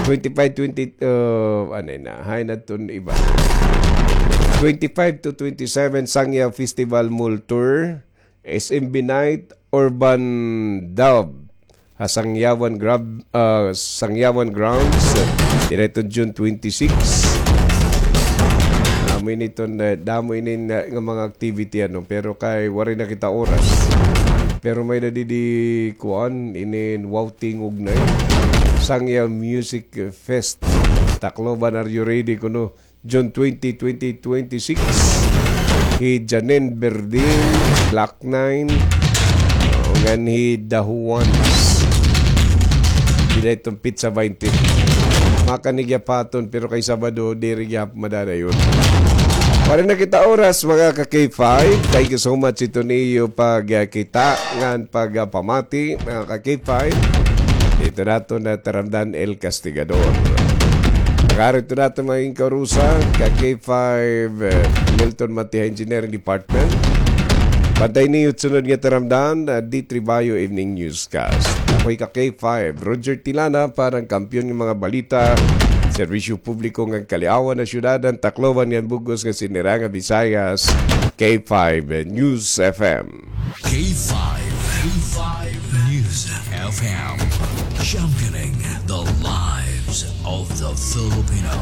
Twenty-five, twenty, uh, ano na, hay na ton iba. Twenty-five to twenty-seven, Sangya Festival Mall Tour, S M B Night, Urban Dub, ha Sangyawan Grab-, ah, Sangyawan Grounds, direto June twenty-six. Damo ini ton, eh, damo ini nga, nga mga activity, ano, pero kay waray na kita oras. Pero may-ada didi, kuan, inin Wow Tingog na, eh. Sangya Music Fest. Tacloban, are you ready kuno? June twenty, twenty twenty-six. Hi Janine Berdin, Black Nine, oh, ngan hi The Juans. Dida iton pitsa baynte. Makanhi gihapon, pero kay Sabado, diri gihap-, madadayon. Waray na kita oras, mga ka K five. Thank you so much iton iyo pagkita ngan pagpamati, mga ka K five. Dito naton nataramdan El Castigador. Pag-ari ito naton mga inkarusa, ka K five, eh, Milton Matiha Engineering Department. Pantay niyo sunod nga taramdan, ah, D three Bayo Evening Newscast. Ako'y ka K five, Roger Tilana, para han kampiyon nga mga balita, serbisyo publiko ngan kaliawan ha syudad han Tacloban ngan bug-os nga sinira nga Visayas, K five News F M. K five, K five News F M, championing the lives of the Filipino.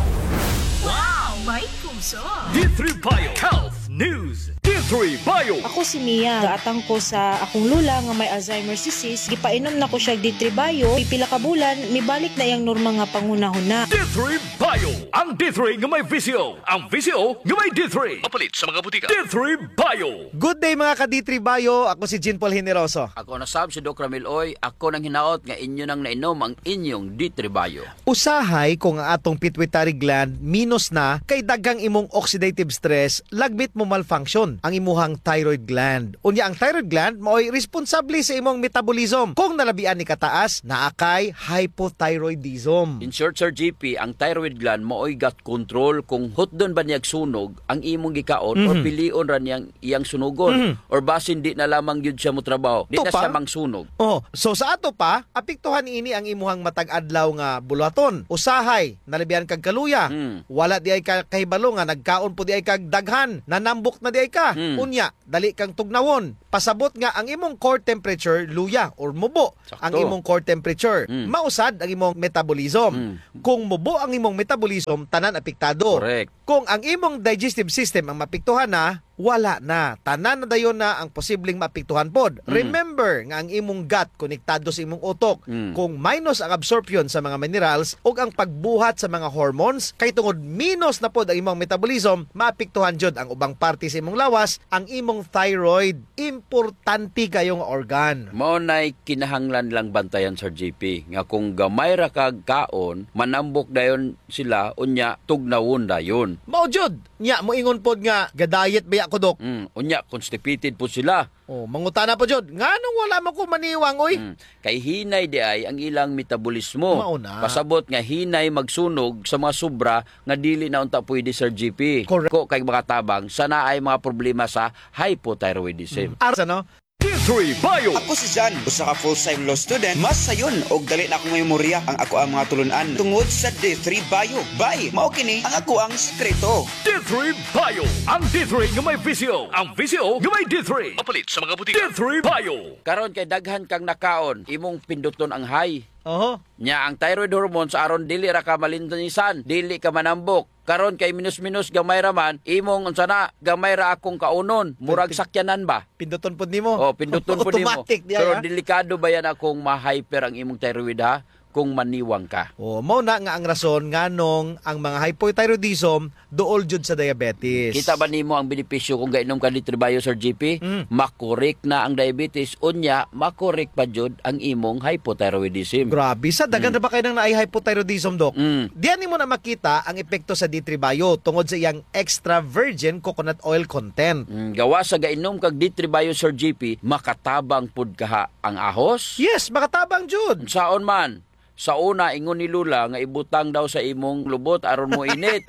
Wow! May puso! D three Bio Health News. D three Bio. Ako si Mia. Gaatang ko sa akong lola nga may Alzheimer's disease. Gipainom na ko siya D three Bio. Pipila ka bulan, mibalik na iyang normal nga panghunahuna. D three Bio. Ang D three nga may visyo. Ang visyo nga may D three. Mapalit sa mga butika. D three Bio. Good day, mga ka-D three Bio. Ako si Jean Paul Generoso. Ako na sab si Doc Ramil Oy. Ako nang hinaot nga inyo nang nainom ang inyong D three Bio. Usahay kung ang atong pituitary gland minus na, kay daghang imong oxidative stress, lagmit mo malfunction ang imuhang thyroid gland. Unya, ang thyroid gland maoy responsable sa imong metabolism. Kung nalabian ni kataas, naa kay hypothyroidism. In short, Sir G P, ang thyroid gland maoy got control kung hutdon ba niyag sunog ang imong gikaon or Mhm. pilion ra niyang iyang sunugon Mhm. or basin di na lamang gyud siya motrabaho, di Ito na pa? siya mangsunog. Oh, so sa ato pa, apektuhan ini ang imuhang matag adlaw nga buluhaton. Usahay, nalabihan kag kaluya. Hmm. Wala di ay ka kahibalo nga nagkaon po di ay kag daghan, nanambok na di ay ka. Hmm. Unya, dali kang tugnawon. Pasabot nga ang imong core temperature luya or mubo Sakto. ang imong core temperature. Hmm. Mausad ang imong metabolism. Hmm. Kung mubo ang imong metabolism, tanan apektado. Correct. Kung ang imong digestive system ang maapektuhan na, wala na. Tanan na dayon na ang posibleng maapektuhan pod. Mm. Remember nga ang imong gut konektado sa imong utok. Mm. Kung minus ang absorption sa mga minerals ug ang pagbuhat sa mga hormones, kay tungod minus na pod ang imong metabolism, maapektuhan jud ang ubang parte sa imong lawas, ang imong thyroid. Importante kayo nga organ. Mao nay kinahanglan lang bantayan, Sir G P, nga kung gamay ra kag kaon, manambok dayon sila, unya tugnawon dayon. Mao jud. Nya, moingon pod nga, ga-diet baya ko, Dok. Mm, unya, constipated pod sila. Oh, mangutana pod jud, nganong wala man ko maniwang, oy? Mm, kay hinay di ay ang ilang metabolismo. Mao na. Pasabot nga hinay magsunog sa mga sobra nga dili na unta pwede, Sir G P. Correct. Ko kay makatabang sa naay mga problema sa hypothyroidism. Mm. Arsa, no? D three Bio. Ako si Jan, usa ka full-time law student. Mas sayon og dali na akong memorya ang ako ang mga tulun-an tungod sa D three Bio. Bay, mao kini ang ako ang sekreto. D three Bio. Ang D three nga may visyo. Ang visyo nga may D three. Mapalit sa mga butika. D three Bio. Karon kay daghan kang nakaon, imong pinduton ang high. Oho. Nya ang thyroid hormones aron dili ra ka malintisan, dili ka manambok. Karon kay minus-minus gamay ra man, imong unsa na, gamay ra akong kaunon, murag Pin-, sakyanan ba? Pinduton pod nimo. Oh, pinduton pod nimo. Automatic diay, ha? Pero delikado ba yan akong ma-hyper ang imong thyroid, ha? Kung maniwang ka. Oh, mao na nga ang rason nganong ang mga hypothyroidism duol jud sa diabetes. Kita ba nimo ang benepisyo kung gainom ka D three Bio, Sir G P? Mm. Makorek na ang diabetes, unya makorek pa jud ang imong hypothyroidism. Grabe, sa daghan Mm. ra ba kay nang naay hypothyroidism, Doc? Mm. Diyan nimo na makita ang epekto sa D three Bio tungod sa iyang extra virgin coconut oil content. Mm, gawas sa gainom kag D three Bio, Sir G P, makatabang pud kaha ang ahos? Yes, makatabang jud. Saon man? Sa una, ingon ni Lola nga ibutang daw sa imong lubot aron moinit.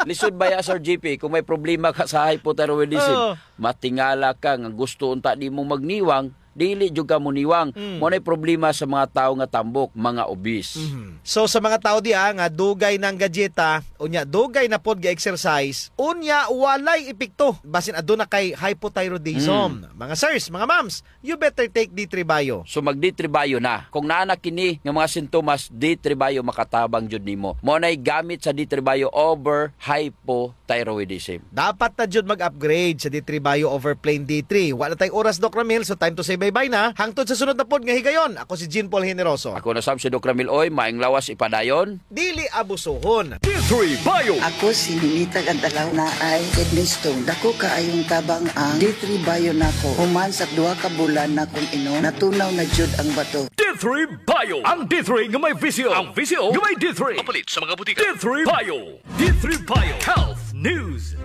Lisod baya, Sir G P, kung may problema ka sa hypothyroidism, Oo. matingala ka nga gusto unta nimo magniwang, dili jud ka moniwang. Mm. Mao nay problema sa mga tawo nga tambok, mga obese. Mhm. So, sa mga tawo diha nga dugay nang gadieta, unya dugay na pod ga-exercise, unya walay epekto, basin aduna kay hypothyroidism. Mm. Mga sirs, mga ma'ams, you better take D three Bio. So mag D three Bio na. Kung naa na kini nga mga sintomas, D three Bio makatabang jud nimo. Mao nay gamit sa D three Bio over hypothyroidism. Dapat na jud mag-upgrade sa D three Bio over plain D three. Wala tay oras, Doc Ramil, so time to say bye-bye na. Hangtod sa sunod na pod nga higayon, ako si Jean Paul Generoso. Ako na sab si Doc Ramil Oy, maayong lawas ipadayon. Dili abusuhon. D three Bio. Ako si Ninita Gantalaw, naay kidney stone. Dako kaayong tabang ang D three Bio nako. Human sa duha ka bulan nakong inom, natunaw na jud ang bato. D three Bio. Ang D three nga may visyo. Ang visyo nga may D three. Mapalit sa mga butika. D three Bio. D three Bio Health News.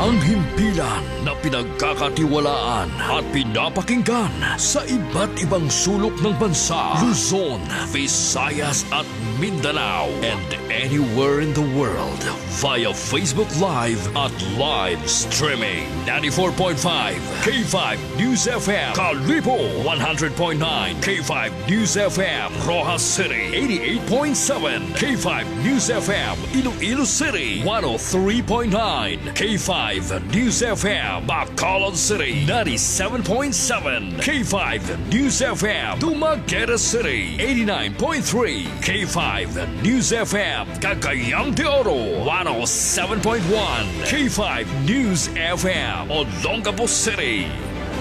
Ang himpilan na pinagkakatiwalaan at pinapakinggan sa iba't ibang sulok ng bansa, Luzon, Visayas at Mindanao, and anywhere in the world via Facebook Live at live streaming. Ninety-four point five K five News F M, Kalibo, one hundred point nine K five News F M, Roxas City, eighty-eight point seven K five News F M, Iloilo City, one oh three point nine K five News F M, Bacolod City, ninety-seven point seven K five News F M, Dumaguete City, eighty-nine point three K five News F M, Cagayan de Oro, one oh seven point one K five News F M, Olongapo City,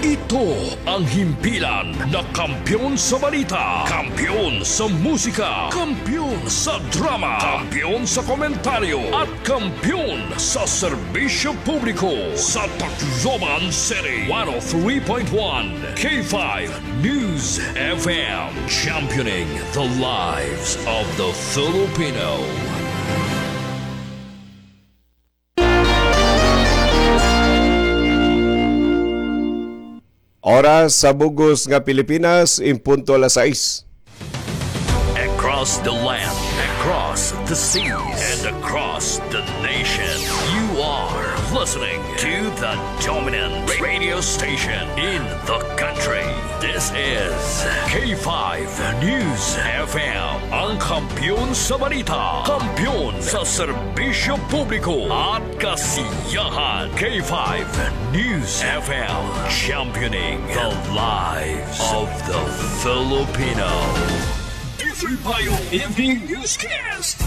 Ito ang himpilan na kampiyon sa balita, kampiyon sa musika, kampiyon sa drama, kampiyon sa komentaryo, at kampiyon sa serbisyo publiko sa Tacloban City. One oh three point one K five News F M, championing the lives of the Filipino. Oras sa bug-os nga Pilipinas, in punto alas sais. Across the land, across the seas, and across the nation, you are listening to the dominant radio station in the country. This is K five News F M, ang kampiyon sa balita, kampiyon sa serbisyo publiko at kasiyahan. K five News F M, championing the lives of the Filipino. D three Bio Evening Newscast.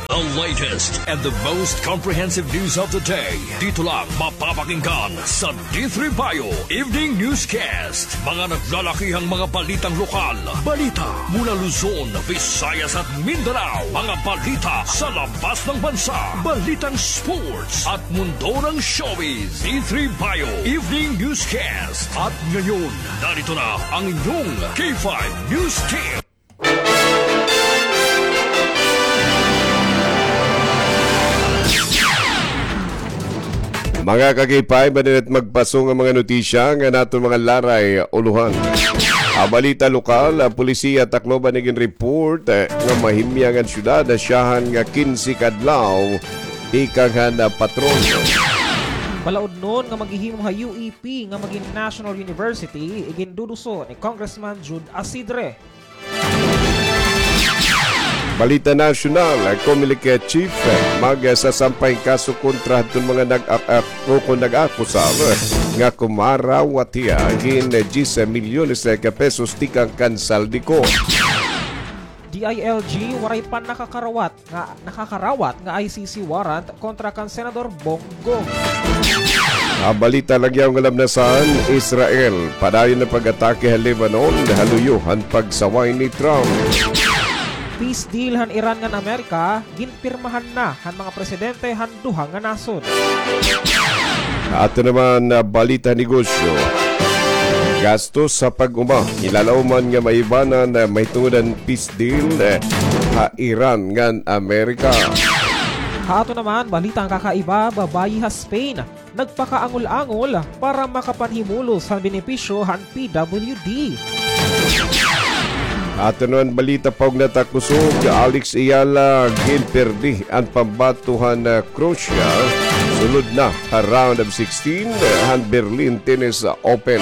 The latest and the most comprehensive news of the day. Dito lang mapapakinggan sa D three Bio Evening Newscast. Mga naglalakihang mga balitang lokal, balita mula Luzon, Visayas at Mindanao, mga balita sa labas ng bansa, balitang sports at mundo ng showbiz. D three Bio Evening Newscast. At ngayon, narito na ang inyong K five News Team. Mga ka-K five, madinit magpaso nga mga notisya nga naton mga laray ulohan. Ha balita lokal, ang pulisiya Tacloban nag-report, eh, nga mahimyang an syudad, asyahan nga kinse ka adlaw tikang han, ah, patron. Balaod nga maghihimo ha U E P nga magin National University, iginduduso ni Congressman Jude Asidre. Balita nasyonal, Comelec chief magsasampay hin kaso kontra hadton mga nag-, ah, ah, o kon nag-akusar nga kumarawat hiya hin diyes milyones ka pesos tikang kan Saldico. D I L G, waray pa nakakarawat nga, nakakarawat nga I C C warrant kontra kan Senador Bong Go. Ha balita nagyaw nga lamnasan, Israel, padayon nga pag-atake ha Lebanon, ha luyo han pagsaway ni Trump. Peace deal han Iran ngan Amerika, ginpirmahan na han mga presidente han duha nga nasod. Ato naman nga balita negosyo. Gastos sa pag-uma, ilalauman nga maibanan nga mahitungod han peace deal, eh, ha Iran ngan Amerika. Ha ato naman balita nga kakaiba, babayi ha Spain nagpakaangol-angol para makapanhimulos han benepisyo han P W D. Ato naman balita paugna ta kusog, Alex Eala, ginperdi an pambato han, ah, Croatia, sulod na ha round of sixteen han Berlin Tennis Open.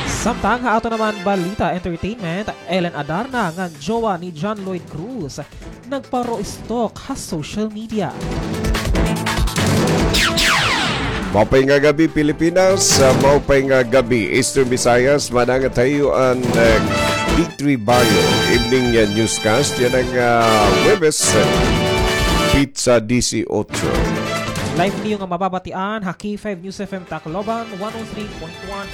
Samtang ha ato naman balita entertainment, Ellen Adarna ngan jowa ni John Lloyd Cruz nagpa-raw talk ha social media. Maupay nga gab-i, Pilipinas. Maupay nga gab-i, Eastern Visayas. Manangat ha iyo an, eh, D three Bio Evening, eh, Newscast. Yana nga, ah, Huwebes, eh, petsa disiotso. Live niyo nga mababatian ha K five News F M Tacloban, one oh three point one.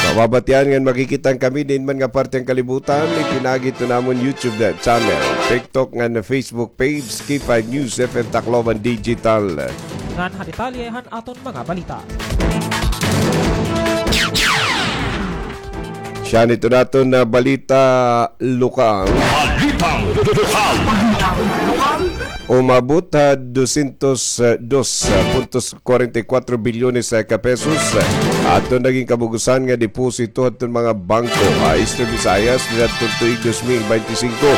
Mababatian ngan makikita kami diin man nga parte han kalibutan, ipinaagi ito namon YouTube channel, TikTok ngan Facebook page, K five News F M Tacloban Digital. Ngan ha detalye han aton mga balita. Siya nito naton nga balita lokal. Balitang lokal. Umabot ha dosyentos dos punto kwarenta y kwatro bilyones ka pesos, ah, aton nagin kabug-osan nga deposito hadton mga bangko ha Eastern Visayas niadton tuig dos mil bente singko.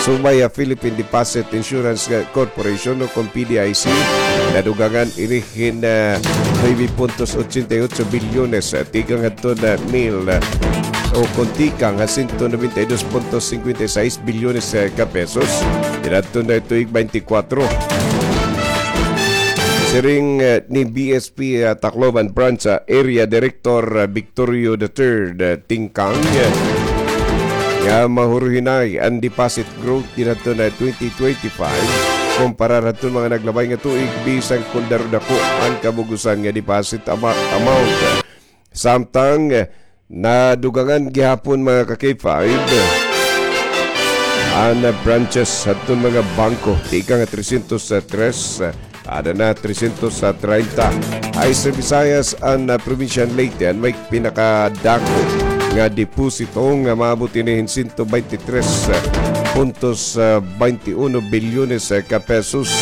Subay ha Philippine Deposit Insurance Corporation o kon P D I C, nadugangan ini hin, ah, nuebe puntos ochenta y ocho bilyones, ah, tikang hadton, ah, mil, ah, o kon tikang ha sento nobenta y dos punto singkwenta y sais bilyones, ah, ka pesos niadton tuig bente kwatro. Siring, eh, ni B S P, ah, Tacloban Branch, ah, Area Director, ah, Victorio the third, ah, Tingkang, eh, nga mahuruhinay an deposit growth niadton twenty twenty-five kumpara hadton mga naglabay nga tuig, bisan kon daro dako an kabug-osan nga deposit ama-, amount. Samtang, eh, nadugangan gihapon, mga ka-K five, an, ah, branches hadton mga bangko, tikang nga trescientos tres, ah, ada na trescientos treinta. Ay sa Visayas, an, ah, probinsya han Leyte an may pinakadako nga deposito nga maabot ini hin sento baynte tres puntos, ah, baynte uno bilyones, ah, ka pesos.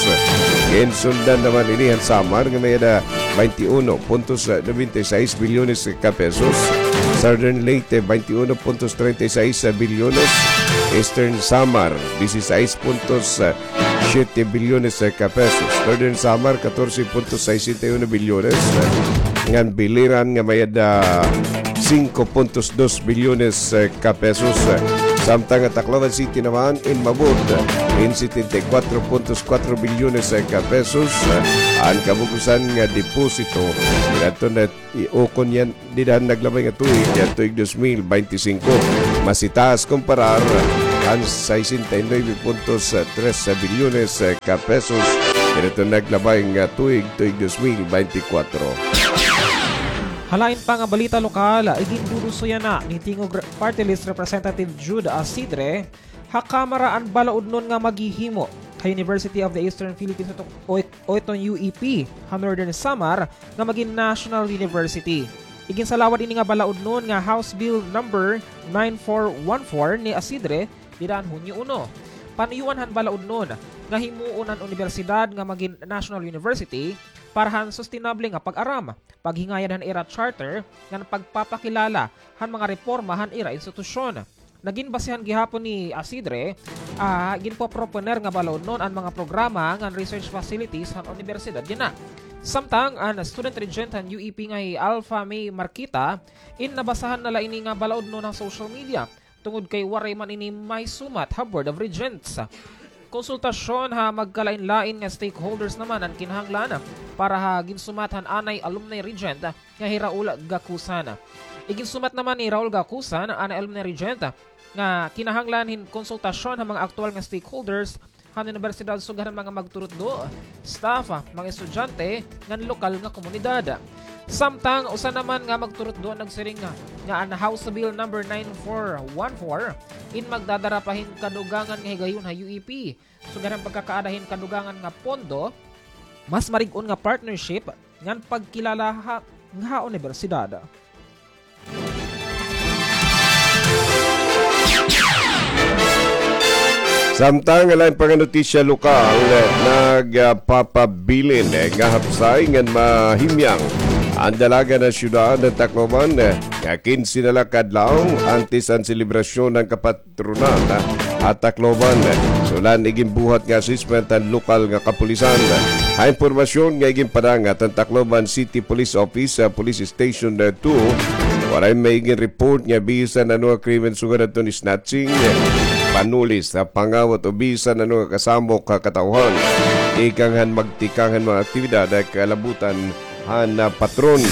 Ginsundan naman ini han Samar nga may-ada baynte uno puntos nobenta y seis bilyones ka pesos. Southern Leyte, baynte uno puntos treinta y seis bilyones. Eastern Samar, dieciséis puntos siete bilyones ka pesos. Northern Samar, catorce puntos sesenta y uno bilyones. Ngan Biliran nga may-ada singko puntos dos bilyones ka pesos. Samtang an Tacloban City naman in maabot in setenta y kuwatro puntos kuwatro bilyones ka pesos an kabug-osan nga deposito. Didto na ukon yana dida han naglabay nga tuig, yana tuig dos mil baynte singko. Mas itaas kumparar han sesenta y nuebe puntos tres bilyones ka pesos didto naglabay nga tuig, tuig dos mil baynte kuwatro. Ha lain pa nga balita lokal, iginduduso yana ni Tingog Re-, Party List Representative Jude Acidre ha Kamara an balaudnon nga maghihimo ha University of the Eastern Philippines o, o, o iton U E P ha Northern Samar nga magin National University. Iginsalawad ini nga balaudnon nga House Bill number nine four one four ni Acidre dida han Hunyo uno. Panuyuan han balaudnon nga himuon an unibersidad nga magin National University para han sustainable nga pag-aram, paghingayad han ira charter, ngan pagpapakilala han mga reporma han ira institusyon. Naginbasehan gihapon ni Acidre, ah, ginpoproponer nga balaudnon an mga programa ngan research facilities han unibersidad yana. Samtang an student regent han U E P nga hi Alpha May Marquita, in nabasahan na la ini nga balaudnon ha social media, tungod kay waray man ini mahisumat ha Board of Regents. Konsultasyon ha magkalain-lain nga stakeholders naman an kinahanglan para ha ginsumat han anay alumni regent nga hi Raul Gacusan. Iginsumat naman ni Raul Gacusan, anay alumni regent, nga kinahanglan hin konsultasyon ha mga aktuwal nga stakeholders han unibersidad, sugad han mga magturutdo, staff, mga estudyante, ngan lokal nga komunidad. Samtang usa naman nga magturutdo nagsiring nga, nga an House Bill number nine four one four in magdadara pa hin kadugangan nga higayon ha U E P, sugad han pagkakaada hin kadugangan nga pondo, mas marig-on nga partnership, ngan pagkilala ha, nga ha unibersidad. Samtang lain pa nga notisya lokal, nagpapabilin nga hapsay ngan mahimyang an dalagan han syudad han Tacloban, nga kinse na la ka adlaw antes an selebrasyon han kapat- patronan ha Tacloban. Sulayan iginbuhat nga assessment han lokal nga kapulisan. Ha impormasyon nga iginpadangat han Tacloban City Police Office, ah, Police Station two, waray may iginreport nga bisan ano nga krimen sugad hadton snatching, panulis, ah, pangawat o bisan ano nga kasamok ha katawhan tikang han magtikang han mga aktibidad ha kalabutan han, ah, patron.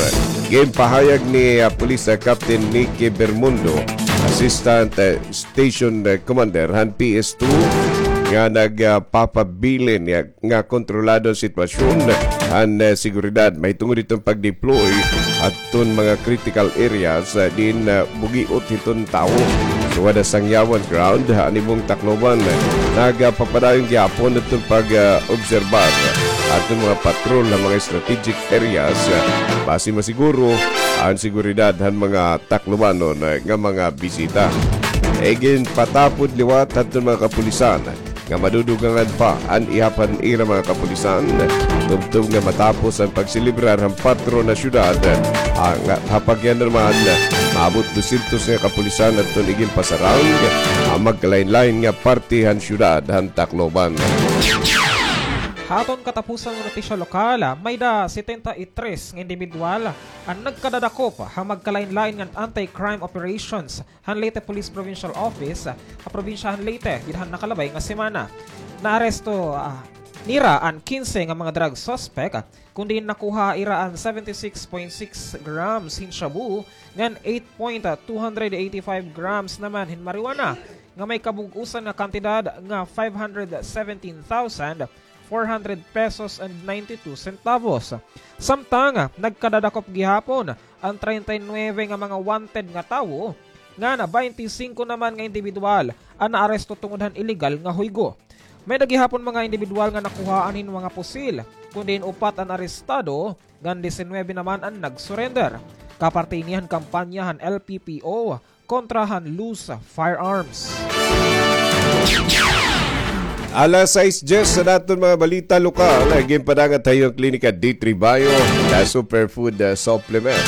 Ginpahayag ni, ah, Police, ah, Captain Nicky Bermundo, Assistant, ah, Station, ah, Commander han P S two, nga nagpapabilin nga, nga kontrolado an sitwasyon han, ah, seguridad mahitungod hiton pag-deploy hadton mga critical areas, ah, diin, ah, bugiot hiton tawo. Sugad ha Sangyawan Ground, ha Anibong, Tacloban, nagpapadayon gihapon hiton pag, ah, obserbar hadton mga patrol ha mga strategic areas, basi masiguro an seguridad han mga Taclobanon nga mga bisita. Iginpatapod liwat hadton mga kapulisan nga madudugangan pa an ihap han ira mga kapulisan, tubtob nga matapos an pagselebrar han patron ha syudad. An, ha pagyan naman, maabot dosyentos nga kapulisan adton iginpasarang ha magkalain-lain nga parte han syudad han Tacloban. Ha aton katapusan nga notisya lokal, may-ada setenta y tres nga indibidwal an nagkadadakop ha magkalain-lain nga anti-crime operations han Leyte Police Provincial Office ha probinsya han Leyte dida han nakalabay nga semana. Naaresto, ah, nira an kinse nga mga drug suspect, kun diin nakuha ira an seventy-six point six grams hin shabu ngan eight point two hundred eighty-five grams naman hin marijuana nga may kabug-osan nga kantidad nga five hundred seventeen thousand four hundred pesos and ninety-two centavos. Samtang nagkadadakop gihapon an treinta y nuebe nga mga wanted nga tawo, ngan baynte singko naman nga indibidwal an naaresto tungod han iligal nga huygo. May-ada gihapon mga indibidwal nga nakuhaan hin mga pusil, kun diin upat an arestado, ngan disinuybe naman an nag-surrender. Kaparte ini han kampanya han L P P O kontra han loose firearms. Alas sais dyes sa aton mga balita lokal, ginpadangat ha iyo an Klinika D three Bio, the superfood, uh, supplement.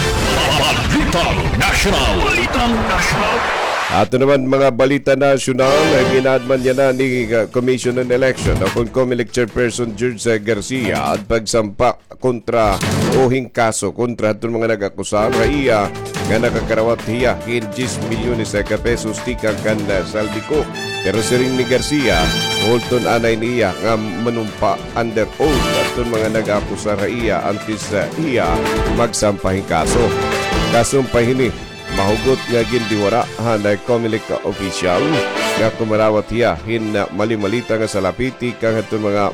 Balitang Nasyonal. Balitang Nasyonal. Ato naman mga balita nasyonal, gin-adman yana ni, uh, Commission on Election o kon Comelec Chairperson George, uh, Garcia an pagsampa kontra o hin kaso kontra hadton mga nag-akusar ha iya nga nakakarawat hiya hin diyes milyones ka pesos tikang kan, ah, Saldico. Pero siring ni Garcia, hulton anay niya nga manumpa under oath hadton mga nag-akusar ha iya antes, ah, hiya magsampa hin kaso. Kasumpay hini, mahugot nga gindiwara han Comelec official nga kumarawat hiya hin malimalita nga salapi tikang hadton mga